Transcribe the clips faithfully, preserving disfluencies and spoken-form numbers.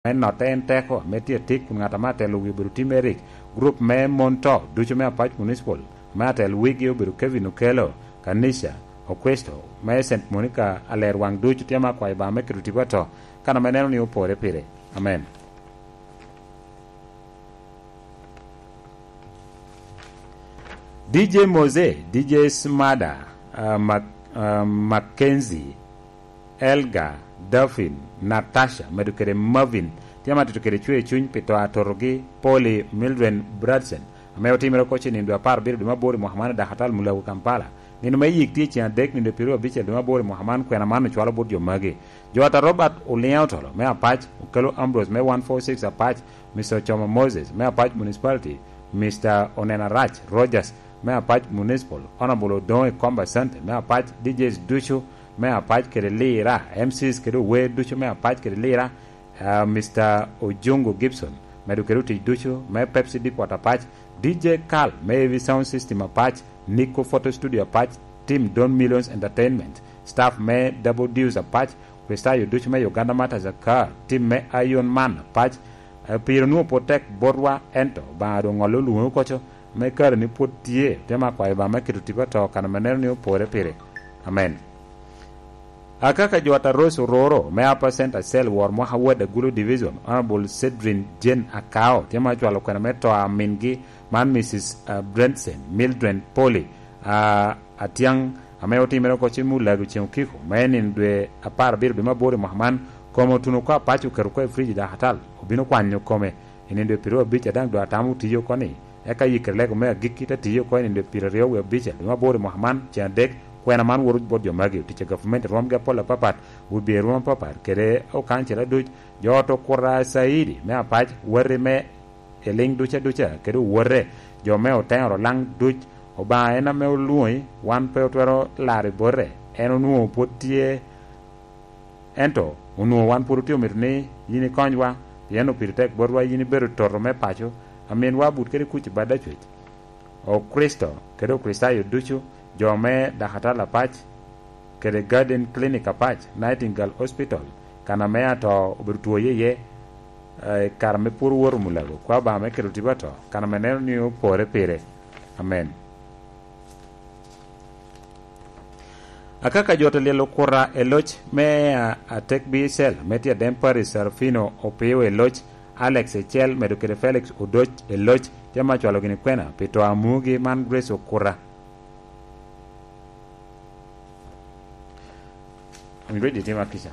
me notte en teko ame tye atik kun ŋat ame atelo wi obedo Tim Eric, gurup me mon to ducu me Apac Municipal ame atelo wigi obedo Kevin Okello, Kanisha Okristo me Saint Monica, aler waŋ ducu tye ame akwayo Obaŋa me keto tipo ato kan ame neno ni opore pire. Amen. D J Mose, D J Smada, uh, Mac, uh, Mackenzie, Elga, Daphne, Natasha, medo kede Marvin, tye ame atito kede cwer cuny pi to atotogi, Polly, Mildred Bradson, ame otimere oko ce nindo apar abiro dwe me aboro i mwaka man i Dakatal Mulago, Kampala. Nino me yik tye ceŋ adek, nindo pyeraryo abicel dwe me aboro i mwaka man, kwena man ocwalo bot jo magi. Jo ata Robert Oliŋo Otolo me Apac, Okello Ambrose me one four six Apac, Mister Ocomo Moses me Apac Municipality, Mister Onena Rac Rogers me Apac Municipal, Honorable Odoŋo Ikomba Sante me Apac, D Js ducu me Apac kede Lira, M Cs kede ower ducu me Apac kede Lira, ah, Mister Ojungu Gibson, medo kede otic ducu me Pepsi Depot Apac, D J Carl me Heavy Sound System Apac, Nico Photo Studio Apac, Team Don Millions Entertainment, staff me Double Deus Apac, Kristayo ducu me Uganda Martyrs Car, team me Iron Man Apac, eh, pire onwoŋo pwod tek botwa, ento Obaŋa doŋ ŋolle olwoŋo oko co, me kare ni pwod tye, te me akwayo Obaŋa me keto tipo ato kan ame neno ni opore pire. Amen. Akaka jo ata Rose Ororo me Upper Center Cell wor mwaka Ward Agulu Division, Honorable Cedrin Jane Akao, tye ma ocwalo kwena me to a mingi man Missus Brentson Mildred Polly, ah, Atiaŋ, ame otimere oko cen me Olago ceŋ okiko, me nino dwe apar abiro dwe me aboro i mwaka man, kome otuno oko apac oketo oko i frij i Dakatal, obino kwanyo kome i nino dwe pyeraryo abic a daŋ doŋ atamo otiyo oko ni, eka yikere lego me agikki te tiyo oko i nino dwe pyeraryo wie abicel dwe me aboro i mwaka man, ceŋ adek, kwena man woto bot jo magi, otic a gavumenti rwomgi apol apapat, wibye rwom apapat, kede okancela duc, jo ot okuta Caidi me Apac, wati me i liŋ duca duca, kede owote, jo me oteŋo Rolaŋ duc. Obaŋa en ame olwoŋi, wan pe otwero laro i bote. En onwoŋo pwod tye, ento onwoŋo wan pwod otye omito ni yin ikonywa, pien opiri tek botwa yin ibedo toto me paco, aminwa but kede kuc i bad acwec. Okricito kede Okricitayo ducu, jo me Dakatal Apac, kede Garden Clinic Apac, Nightingale Hospital, kan ame ato obedo two iye iye, eh, i kare ame pwod owoto Mulago, kwa Obaŋa me keto tipo ato, kan ame neno ni opore pire. Amen. Akaka jo te lyel okuta i loc me, ah, Atek Bicel, me tye Adem Paris Serafino Opio i loc, Alex Ecel, medo kede Felix Odoc i loc, tye ma cwalo gini kwena pi to a mugi man Grace Okuta. I'm ready, Tim Akisha.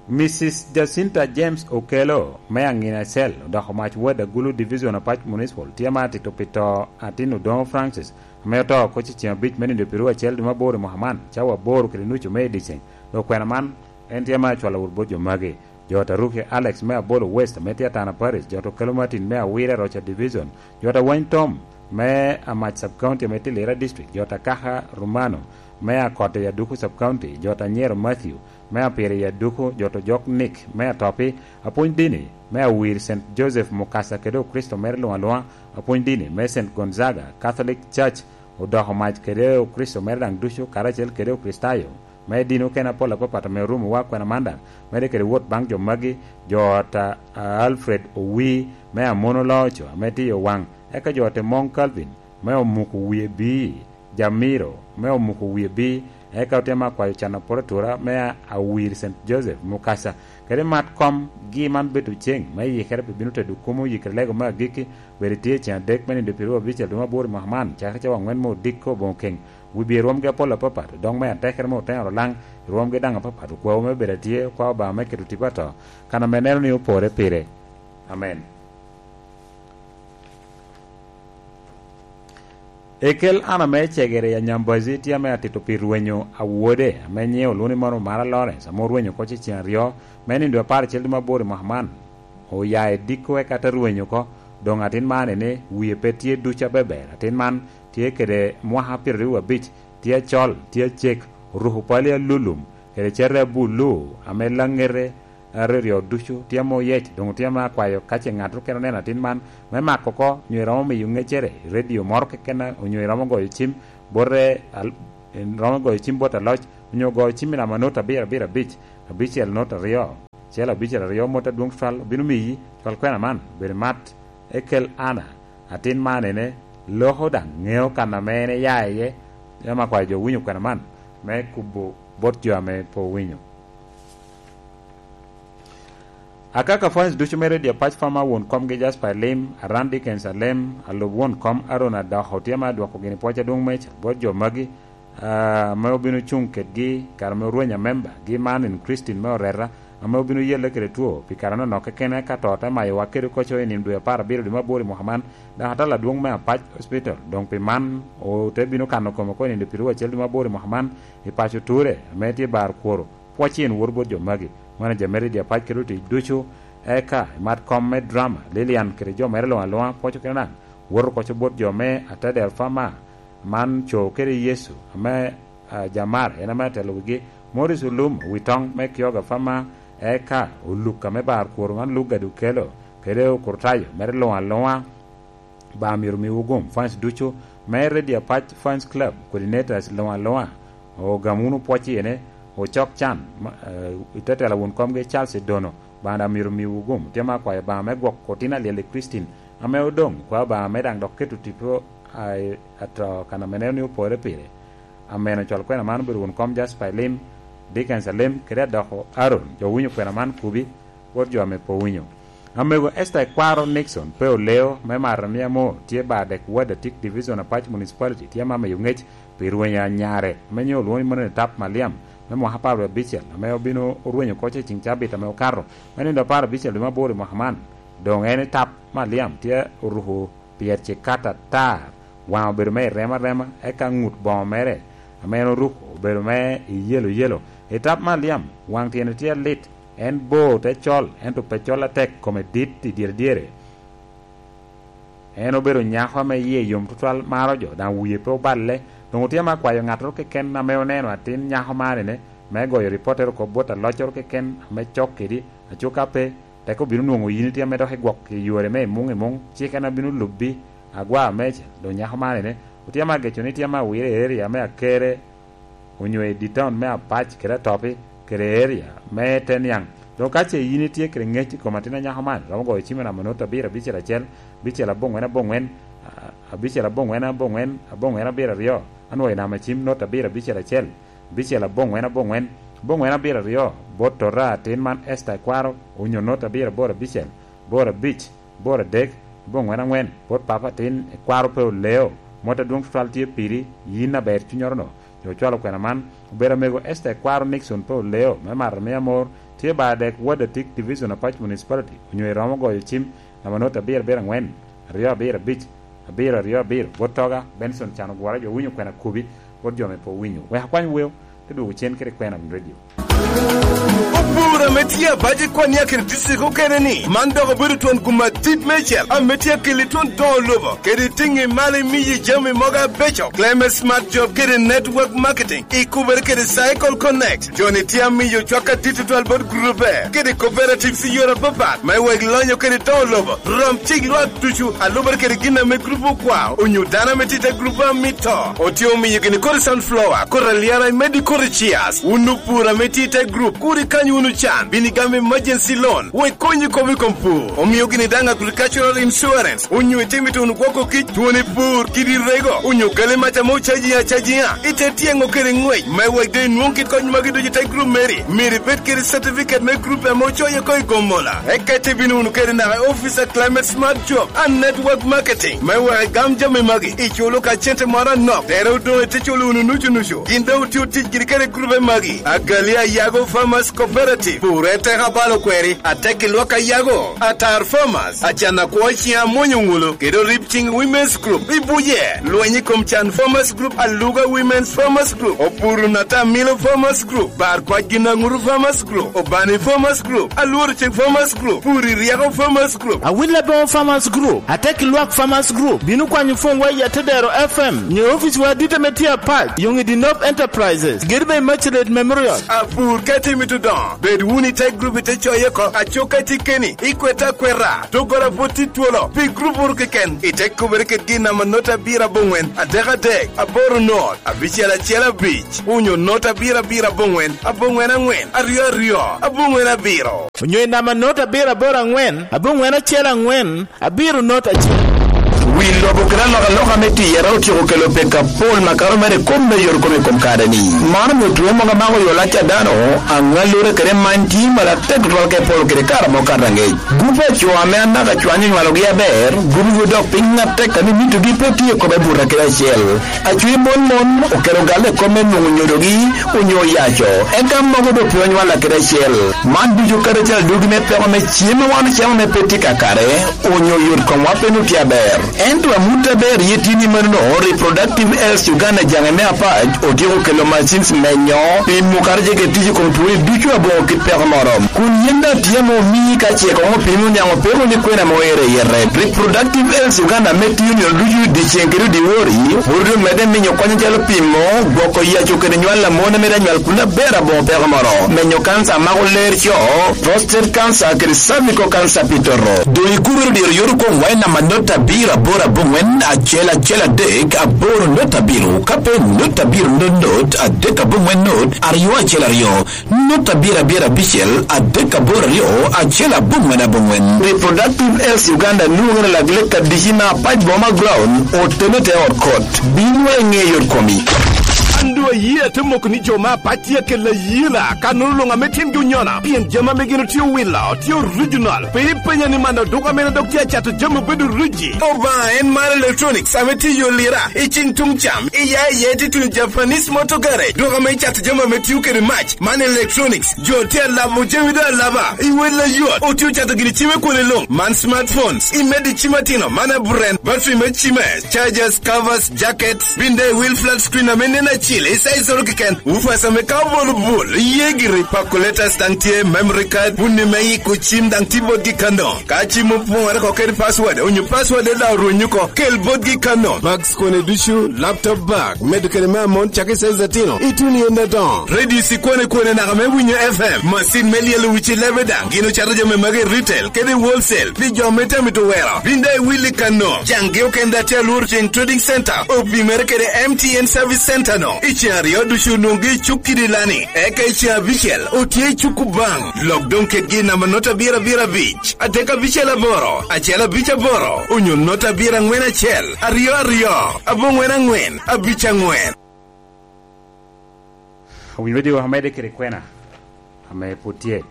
Missus Jacinta James Okello, me Aŋina Cell, odoko mac Ward Agulu Division Apac Municipal, tye ma atito pi to atin Odoŋo Francis, ame oto oko cicim abic me nindo pyeraryo acel dwe me aboro i mwaka man, cawa aboro kede nucu me i dyeceŋ. Dok kwena man, en tye ma acwalo wot bot jo magi. Jo Taruki Alex me Abolo West, ame tye Atana Parish, jo Okello Martin me Awire Rocha Division, jo Awany Tom me Amac Sub County ame tye Lira District, jo Kaka Romano me Akot i Aduku Sub County, jo Anyero Matthew me Apiri i Aduku, jo Ojok Nick me Atopi, apwony dini me Awir Saint Joseph Mukasa kede Okricito mere luŋ aluŋa, apwony dini me Saint Gonzaga Catholic Church, odoko mac kede Okricito mere daŋ ducu, karacel kede Okricitayo me dini okene apol apapat ame orumowa. Kwena man daŋ medde kede wot baŋ jo magi, jo ot a, a Alfred Owi me Amono Loco ame tye i Owaŋ, eka jo ot Emoŋ Calvin me Omuko Wie Bii, Jamiro me Omuko Wie Bii, eka otemo akwayo can apol atura me a, Awir Saint Joseph Mukasa, kede mat kom gi man bedo ceŋ me yikere pi bino tedo kumo yikere lego me agikki, bedo tye ceŋ adek me nindo pyeraryo abicel dwe me aboro i mwaka man, cakere cawa aŋwen me odiko boŋo keŋ, wibye rwomgi apol apapat, dok me atekere me oteŋo Rolaŋ, rwomgi daŋ apapat, okwawu me bedo atye, okwa Obaŋa me keto tipo ato, kan ame neno ni opore pire. Amen. Ekel an ame cegere i Anyambazi tye ame atito pi rwenyo awode, ame nyiŋe olwoŋo ni Mano Mara Lawrence, ame orwenyo oko cecen aryo, me nindo apar acel dwe me aboro i mwaka man. Oya i diko eka te rwenyo oko, doŋ atin man ene wie pe tye duc abeber. Atin man tye kede mwaka pyeraryo abic, tye acol, tye acek, oruko pali alulum, kede cate abulu, ame laŋete aryo ducu tye ame oyec, doŋ tye ame akwayo ka ce ŋat okene oneno atin man, me mako oko, onyo iromo miyo ŋeccere i redio moro keken, onyo iromo goyo cim bote, al-, iromo goyo cim bot aloc, onyo goyo cim i namba not abiro abiro abic, abicel not aryo, acel abicel aryo, mot adwoŋ tutwal obino miyi. Cwal kwena man, bedo mat, Ekel Ana, atin man ene, loko daŋ ŋeo kan ame en eya iye. Yam akwayo jo winyo kwena man me kubo bot jo ame pe owinyo. Akaka fans ducu me Radio Apac, Fama won komgi Jasper Elim, Aran Dickens Alem, alub won kom Aaron Adoko, tye ma adwoko gini pwoc adwoŋ meca bot jo magi, ah, ame obino cuŋ kedgi kare ame orweny amemba gi man in Christine me oreta, ame obino yelle kede two pi kare anonok keken, eka to te mayowa kede koco i nino dwe apar abiro dwe me aboro i mwaka man, dok atal adwoŋ me Apac Hospital. Doŋ pi man, ote bino kano kome oko i nino dwe piru acel dwe me aboro i mwaka man i paco Ture, ame tye bar kworo. Pwoc in wor bot jo magi. Manager me Radio Apac kede otic ducu, eka i mat kom me drama, Lilian kede jo mere luŋ aluŋa, pwoco kede daŋ woto koco bot jo me atadel Fama, man co kede Yecu, ame, ah, Jamar, en ame atelo wigi, Morris Olum, wi toŋ me Kyoga Fama, eka Oluk ame bar kworo man Lugga Dukelo, kede Okurtayo mere luŋ aluŋa. Ba myero miwu gum, fans ducu me Radio Apac Fans Club, coordinators luŋ aluŋa, ogam wunu pwoc iyene, ocok can, ma, eh, i te tela wun komgi Charles Edono, ba daŋ myero miwu gum. Tye ma akwayo ba me gwok otin alyel i Christine, ame odoŋ, kwa ba me daŋ dok keto tipo, a, ato kan ame neno ni opore pire. Ameno cwal kwena man obedo wun kom Jasper Elim, Dickens Alem, kede adoko Aaron, jo winyo kwena man kubi, bot jo ame pe owinyo. Amego Esther Ekwaro Nixon pe oleo me mato ni amo tye ba dek ward Atik Division Apac Municipality tye ma meyo ngec pi rwenyo anyare ame nyo olwoŋo ni mano ni Tap Maliam me mwaka apar wie abicel ame obino orwenyo koc i ceng cabit ame okato me nindo apar abicel dwe me aboro i mwaka man. Doŋ en i Tap Maliam tye oruko pyerce kat atar, waŋe obedo me i rema rema, eka ŋut boŋo mere ame en oruko obedo me i yelo yelo. I Tap Maliam, waŋ tyene tye alit, en bor te col, ento pe col atek, kome dit i dyere dyere. En obedo nyako ame yie yom tutwal, maro jo, daŋ wie pe oballe. Doŋ otye ame akwayo ŋattoro keken ame oneno atin nyako man ene, me goyo ripottere oko bot aloccoro keken ame cok kedi, aco ka pe, tek obino nwoŋo yin itye ame dok igwok i yore me i muŋ i muŋ, cik en abino lubbi. Agwa meca, doŋ nyako man ene, otye ame ageco ni tye ame awire i area me Akere, onyo i di town me Apac kede Atopi, kede area me te niaŋ. Doŋ ka ce yin itye kede ŋec i kom atin anyako man, romo goyo cim i namba not abiro abicel acel, abicel aboŋwen aboŋwen, a-, abicel aboŋwen aboŋwen, aboŋwen abiro aryo, anwoyo namba cim not abiro abicel acel, abicel aboŋwen aboŋwen, aboŋwen abiro aryo, bot tota atin man Esther Ekwaro, onyo not abiro aboro abicel, aboro abic, aboro adek, aboŋwen aŋwen, bot papa atin Ekwaro pe oleo, mot adwoŋ tutwal tye piri, yin aber cunnyoro-nu. Jo ocwalo kwena man, obedo amego Esther Ekwaro Nixon pe oleo, me mato me amor, tye ba dek ward Atik Division Apac Municipality, onyo iromo goyo cim, namba not abiro abiro aŋwen, aryo abiro abic, abiro aryo abiro, bot toga, Benson Can Ogwora, jo winyo kwena kubi, bot jo me pe owinyo. Wek akwany weo, te dwogo cen kede kwena radio. Opur ame tye abac i Kwania kede district okene ni, man dok obedo twon gum adit mecel ame tye akeli twon doŋo lobo, kede tiŋi malo imiyi jami mogo abeco. Climate Smart Job kede Network Marketing, ikubere kede Cycle Connect. Joni tye amiyo cwak adit tutwal bot gurube kede cooperatives i yore apapat, me wek lonyo kede doŋo lobo. Rom cik lwak ducu, alubere kede gin ame grup okwao, onyo dano ame tye i te grup amito. Otye omiyo gini kodi sunflower, kodi alyara, imeddi kodi chias. Wun opur ame tye i te grup, kur ikany wunu can, bin igam emergency loan, wek konyi kop i kom pur. Omio gini daŋ agricultural insurance, onyo itimo ito wunu gwoko kic, twoni pur, kidi rego, onyo kele mac ame ocaji acajiŋa, ite tyeŋo kede ŋwec, me wek doŋ inwoŋ kit kony magi ducu i te grup meri. Myero ibed kede certificate me grup ame ocoyo oko i Gomola. Eka ite bino wunu kede naka i office a Climate Smart Job and Network Marketing, me wek igam jami magi, iculo ka cente moro anok, tere odoŋ ite culo wunu nucu nucu. Gin doŋ otye otic giri kede grupe magi, Agali Ayago Farmers Cooperative, Pure Teka Balo Kweri, Atek i Lwak Ayago, Atar Farmers, Acan Akwo Ciŋ Amwonyo Ŋulo, kede Orib Ciŋ Women's Group, i Buye, Lweny i Kom Can Farmers Group, Aluga Women's Farmers Group, Opuru Nata Milo Farmers Group, Bar Kwac Gin Aŋuru Farmers Group, Obani Farmers Group, Alworo Ceng Farmers Group, Puri Ryeko Farmers Group, Awil Aboŋo Farmers Group, Atek i Lwak Farmers Group, bino kwanyo pwonywa i Atedero F M, nyo oficwa adit ame tye apac, Yoŋ i Dinop Enterprises, gedo me Immaculate Memorial. Apur ka itimo ito doŋo, bed Ni te grup ite coye oko, acoka tye keni, ikwete akweta, doggola pwod tye twolo, pi grup oro keken, ite kubere kedgi i namba not abiro aboŋwen, adek adek, aboro not, abicel acel abic, onyo not abiro abiro aboŋwen, aboŋwen aŋwen, aryo aryo, aboŋwen abiro. Onyo i namba not abiro aboro aŋwen, aboŋwen acel aŋwen, abiro not acel. Wi lobo kede alokaloka me tiyere otyeko kelo peko apol makato mere i kom me yot kome i kom kare-ni. Man omio two mogo amako yo lac a dano, aŋallura kede many tye malatek tutwal ka iporo kede kare amo kato aŋec. Gup a co ame anaka cwany onywalogi aber, gup-gu dok piny atek ame mitogi pe tye i kome buto kede acel. Acwe mon mon okelo galle i kom me nwoŋo nyodogi onyo oyaco, eka mogo doŋ pe onywalla kede acel. Man ducu kadi acel adugi me peko me cem ma wan ocamo me pe tye kakare, onyo yot komwa pe nwoŋo tye aber. Ento amut aber ye tye ni manono, Reproductive Health Uganda jaŋe me apac otyeko kelo machines menyo, pimo kadi ce kede tic i kom twoni ducu aboŋo kit peko moro. Kun yin daŋ tye ame omii ka ce koŋ opimi oniaŋ opeko ni kwena ame oero i yete. Reproductive Health Uganda ame tiyo nino ducu dyeceŋ kede dyewor, pwod omedde minyo kony acalo pimo, gwoko yaco kede nywal a mon ame daŋ nywal kun aber aboŋo peko moro, menyo kanca a mako ler co, prostate cancer kede cervical cancer pi toto. Doŋ ikubere dyero yot okoŋwa i namba not abiro aboro aboŋwen acel acel adek aboro not abiro, ka pe not abiro not not adek aboŋwen not aryo acel aryo. Nut abiro abiro abicel, adek aboro aryo, acel aboŋwen aboŋwen. Reproductive Health Uganda nwoŋo i lak lek adici me apac boma ground, otene te ot kot. Bino i ŋe yot komi. An doŋ aye ate moko ni jo me apac tye akelo ayela, ka nono luŋ ame tyengi onyona, pien jami ame gin otye owilo, tye original. Pe ipenya ni man oduka mene dok tye acato jami obedo riji. Obaŋa en mar electronics ame tye i yo lira, i cing tuŋ cam, i ya i ye tye tuno Japanese motor garage, dok ame icato jami ame tio kede mac. Man electronics, jo tye alabo jami doŋ alaba, i wel ayot, otye ocato gini cime kwone luŋ. Man smartphones, imedo i cim atino, man aburen, battery me cime, chargers, covers, jackets, bin daŋ i wil flat screen ame nen acil, i size oro keken, woofers ame ka obolo bul, iye giri, calculators daŋ tye, memory card, bunni me yiko cim daŋ tye botgi kano. Ka cim opoŋore oko kede password, onyo password daŋ orwenyo oko, kel botgi kano. Bags kone ducu, laptop bag, medo kede me amon cakki size atino, ituno i ende adoŋo. Radio cikwane kwane naka me winyo F M, masin me lyelo wici lebe daŋ, gin ocato jami magi i retail kede i wholesale pi jo me tamito wero. Bin daŋ iwil i kano. Jaŋgi okende atye alworo ceng trading center, opimere kede M T N service center no. I ceŋ aryo ducu onwoŋgi i cuk kidi lani, eka i ceŋ abicel otye i cuk Kubaŋ. Lok doŋ kedgi i namba not abiro abiro abic, adek abicel aboro, acel abic aboro, onyo not abiro aŋwen acel, aryo aryo, aboŋwen aŋwen, abic aŋwen. Owinyo wede omedde kede kwena ame pwod tye.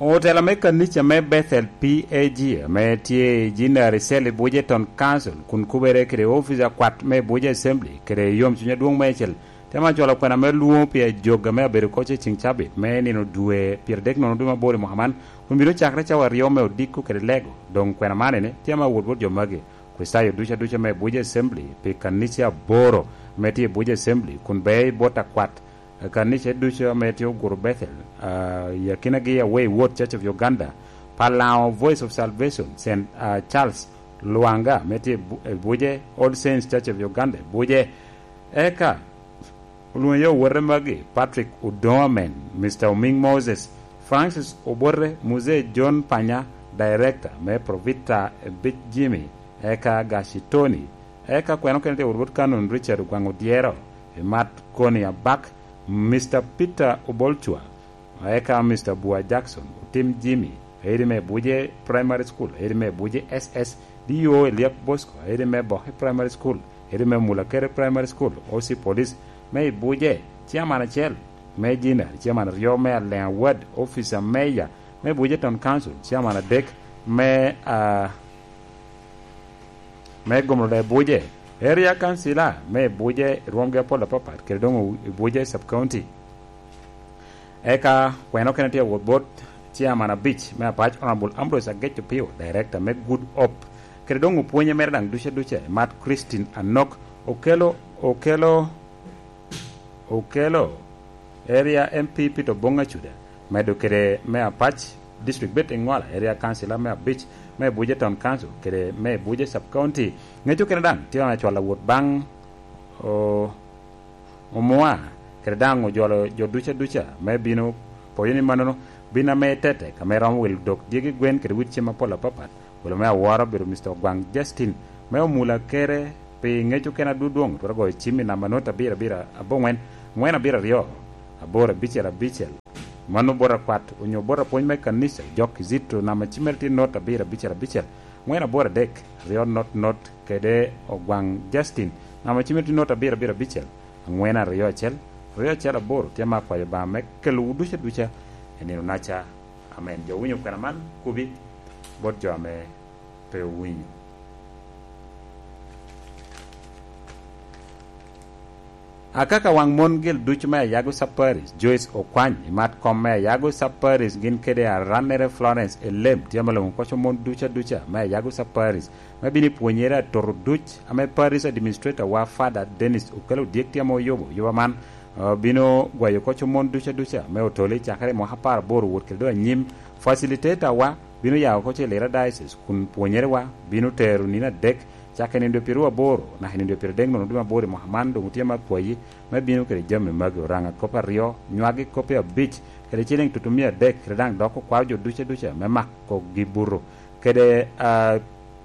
Otela me kanica me Bethel P A G ame tye i Jinari Cell i Bujeton Council kun kubere kede ofice akwat me Buje Assembly kede yomcuny adwoŋ meicel, temo acwalo kwena me lwoŋo pi ajog ame abedo koc i ceng cabit me nino dwe pyeradek nono dwe mabor i mwaka man, kun bino cakre cawa aryo me odiko kede lego. Doŋ kwena man ene, tye ame awot bot jo magi. Kricitayo ducu aduca me Abuja Assembly pi kanica aboro ame tye i Abuja Assembly kun bea i bot akwat kanica ducu ame tye oguro Bethel, ah, i akinagi Away Ward Church of Uganda, Palaŋo Voice of Salvation, Saint, ah, Charles Lwanga ame tye i Bu-, i Buje, All Saints Church of Uganda, Buje. Eka olwoŋo iye owote magi, Patrick Odoŋo Amen, Mister Omiŋ Moses, Francis Obote, Muzee John Panya, Director me Provita Ebic Jimmy, eka Gaci Tony, eka kwena okene tye wot bot Canon Richard Ogwaŋ Odyero, Emat Koni Abak, Mister Peter Obolcwa, eka Mister Bua Jackson, Otim Jimmy, airi me Buje Primary School, airi me Buje S S D O Eliab Bosco, airi me Boki Primary School, airi me Mulakere Primary School, O C Police me i Buje, Chairman acel me Jinari, Chairman aryo me Aleŋa Ward, Officer Mayor me Buje Town Council, Chairman adek me, ah, me Gomrule Buje, Area Councilor me Buje, rwomgi apol apapat, kede doŋ i Buje Sub County. Eka kwena okene tye awot bot Chairman abic me Apac, Honorable Ambrose Agec Opio, Director me Good Hope, kede doŋ opwonye mere daŋ duce duce, Mat Christine Anok, Okelo, Okelo, Okelo, Area M P Peter Oboŋ Acuda, medo kede me Apac District bet i Ŋola, Area Councilor me abic me Abuja Town Council, kede me Abuja Sub County. Ŋec okene daŋ tye acwalo awot baŋ, o, Omwa, kede daŋ ojolo jo duca duca me bino poyo ni mannono bin ame tetek ame romo wilo dok dyegi gwen kede wit cem apol apapat. Welo me awora obedo Mister Ogwaŋ Justin, me omula kere pi ŋec okene adwodwoŋ, twero goyo cim i namba not abiro abiro aboŋwen, ŋwen abiro aryo, aboro abicel abicel. Mano bot akwat onyo bot apwony me kanica, Jok Kizito, namba cimmere tye not abiro abicel abicel, ŋwen aboro adek, aryo not not, kede Ogwaŋ Justin, namba cimmere tye not abiro abiro abicel, aŋwen aryo acel, aryo acel aboro. Tye ma akwayo Obaŋa me kelowu duca duca i nino naca. Amen. Jo owinyo kwena man, kubi bot jo ame pe owinyo. Akaka waŋ mon gel ducu me Ayago Sub Parish, Joyce Okwany, i mat kom me Ayago Sub Parish gin kede arannere Florence Elem tye ame loŋo koco mon duca duca me Ayago Sub Parish me bino i pwonyere atoto duc ame Parish Administrator wa Father Dennis Okello Odyek tye ame oyubo. Yuba man, ah, bino gwayo koco mon duca duca me otole cakere i mwaka apar aboro wot kede doŋ anyim. Facilitator wa bino ya oko ce Lira Diocese kun pwonyerewa bino tero nino adek, cakere i nino dwe pyeraryo aboro naka i nino dwe pyeradek nono dwe me aboro i mwaka man. Doŋ otye me akwayi me bino kede jami magi, Oraŋa kop aryo, nywagi kopi abic, kede ciliŋ tutumia adek, kede daŋ dok okwao jo duca duca me mako gi buto, kede, ah,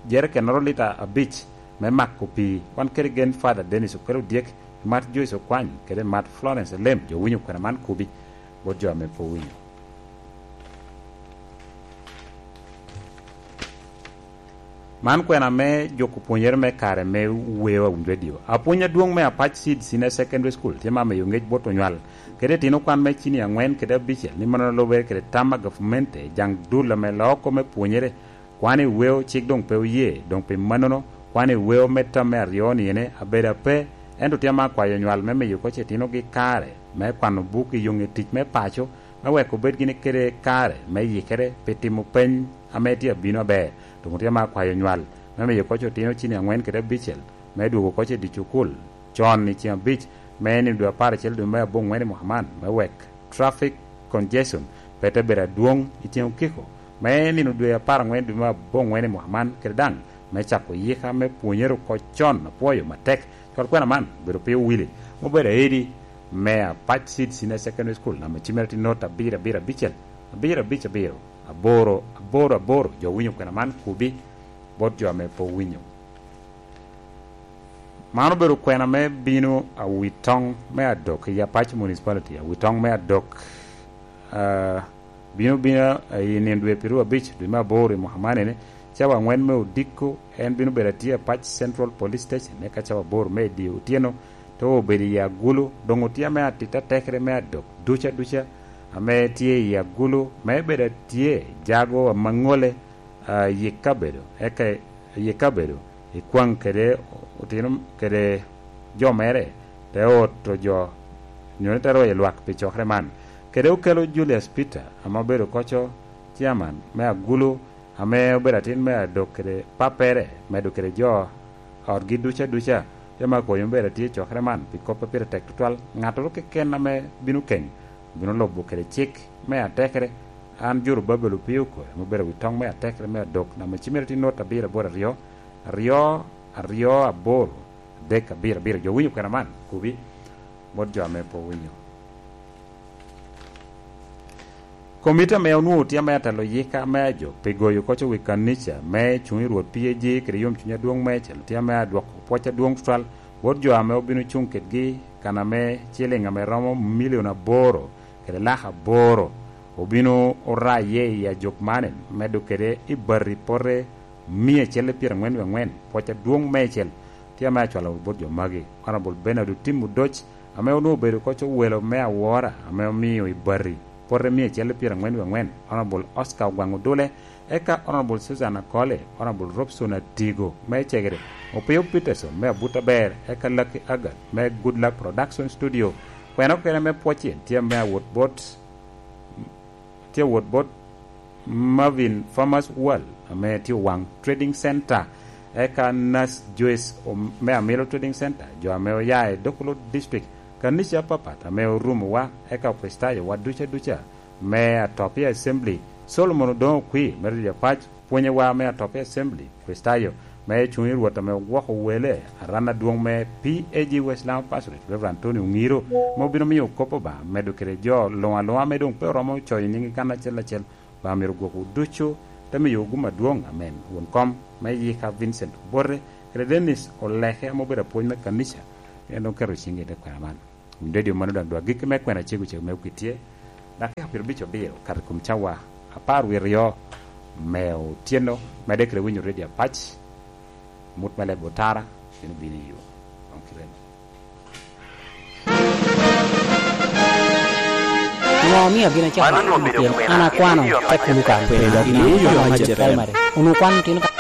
jerekennoro lita abic me mako pii. Wan kede gen Father Dennis Okello Odyek, mat Joyce Okwany, kede mat Florence Elem. Jo winyo kwena man kubi bot jo ame pe owinyo. Man kwena me juko pwonyere me kare me weo a radio. Apwony adwoŋ me Apac Seed Senior Secondary School tye ma miyo ŋec bot onywal kede itino kwan me cini aŋwen kede abicel ni mano lubere kede tam a gavumenti jaŋ dul ame loko me pwonyere. Kwan i weo cik doŋ pe oye, doŋ pi mannono kwan i weo me tam me aryo-ni ene abedo ape, ento tye ma akwayo onywal me miyo koc itinogi kare me kwano buk i yoŋe tic me paco, me wek obed gini kede kare me yikere pi timo peny ame tye abino aber. Doŋ tye ma akwayo nywal me miyo koc otino cini aŋwen kede abicel me dwogo koc i dye cukul con i ceng abic me nino dwe apar acel dwe me aboŋwen i mwaka man, me wek traffic congestion pe te bedo adwoŋ i ceng okiko me nino dwe apar aŋwen dwe me aboŋwen i mwaka man, kede daŋ me cako yika me pwonyere oko con. Apwoyo matek cwal kwena man obedo piny owili, ma obedo aedi me Apac Seed Senior Secondary School, namba cimmere tye not abiro abiro abicel, abiro abic abiro, aboro aboro aboro. Jo winyo kwena man kubi bot jo ame pe owinyo. Man obedo kwena me bino awitoŋ me adok i Apac Municipality, awitoŋ me adok, ah, bino bino i nino dwe pyeraryo abic dwe me aboro i mwaka man ene, cawa aŋwen me odiko en bino bedo atye Apac Central Police Station, eka cawa aboro me i dye otyeno te obedo i Agulu. Doŋ otye ame atito atekere me adok duca duca ame tye i Agulu, me bedo atye jago amaŋole, ah, yik kabedo, eka yik kabedo i kwaŋ kede otino kede jo mere, te oto jo, nyo ni te royo lwak pi cokere man. Kede okelo Julius Peter, ame obedo koco chairman me Agulu, ame obedo atin me adok kede pappere, medo kede jo otgi duca duca, jo ma akoyo obedo atye i cokere man pi kop a pire tek tutwal. Ŋattoro keken ame bino keny, bino lubo kede cik me atekere. An Jorubabel Opio Okoy, ame obedo wi toŋ me atekere me adok, namba cimmere tye not abiro aboro aryo, aryo, aryo, aboro, adek, abiro, abiro. Jo winyo kwena man, kubi, bot jo ame pe owinyo. Komiti ame onwoŋo tye ame atelo yika me ajo pi goyo koc wi kanica me cuŋ i Rwot P A G kede yomcuny adwoŋ meicel tye ame adwoko pwoc adwoŋ tutwal bot jo ame obino cuŋ kedgi kan ame ciliŋ ame romo milion aboro kede lak aboro obino oraye i ajok man, medo kede i bati pote mia acel i pyeraŋwen wie aŋwen. Pwoc adwoŋ meicel tye ame acwalo bot jo magi. Honorable Bernard Otim Odoc, ame onwoŋo obedo koc owelo me awora, ame omio i bati pote mia acel i pyeraŋwen wie aŋwen, Honorable Oscar Ogwaŋ Odule, eka Honorable Susan Akole, Honorable Robson Atigo me Cegere, Opio Peterson me Abuta Ber, eka Lucky Agat me Good Luck Production Studio. Kwena okene me pwocce tye me awot bot, tye awot bot Marvin Farmers World, ame tye Owaŋ Trading Center, eka Nurse Joyce Om-, me Amilo Trading Center, jo ame oya i Dokolo District, kanica apapat ame orumowa, eka Okricitayo wa duca duca me Atopia Assembly, Solomon Odoŋo Okwi me Rio Apac, pwonyewa me Atopia Assembly, Okricitayo me cuŋ i Rwot ame ogwoko wele, aran adwoŋ me P A G West Lango Pastorate, Reverend Tony Ongiro, ame obino miyo kop Obaŋa, medo kede jo luŋ aluŋa ame doŋ pe oromo coyo nyiŋgi kan acel acel. Obaŋa myero ogwokwu ducu, te miyowu gum adwoŋ. Amen. Won kom me yika Vincent Obote, kede Dennis Oleke ame obedo apwony me kanica, en doŋ keto ciŋgi i te kwena man. Winy redio mano daŋ dwagikki me kwena cego cego me okitye, dakika pyerabicel abiro kato i kom cawa apar wie aryo me otyeno, medde kede winyo redio apac, mut me leb otara, bino bino i yo. Ŋo omio gin acako? Pien an akwano te kulu kan piny, dok ni yo me Jerucalem. Onwoŋo kwano tino ka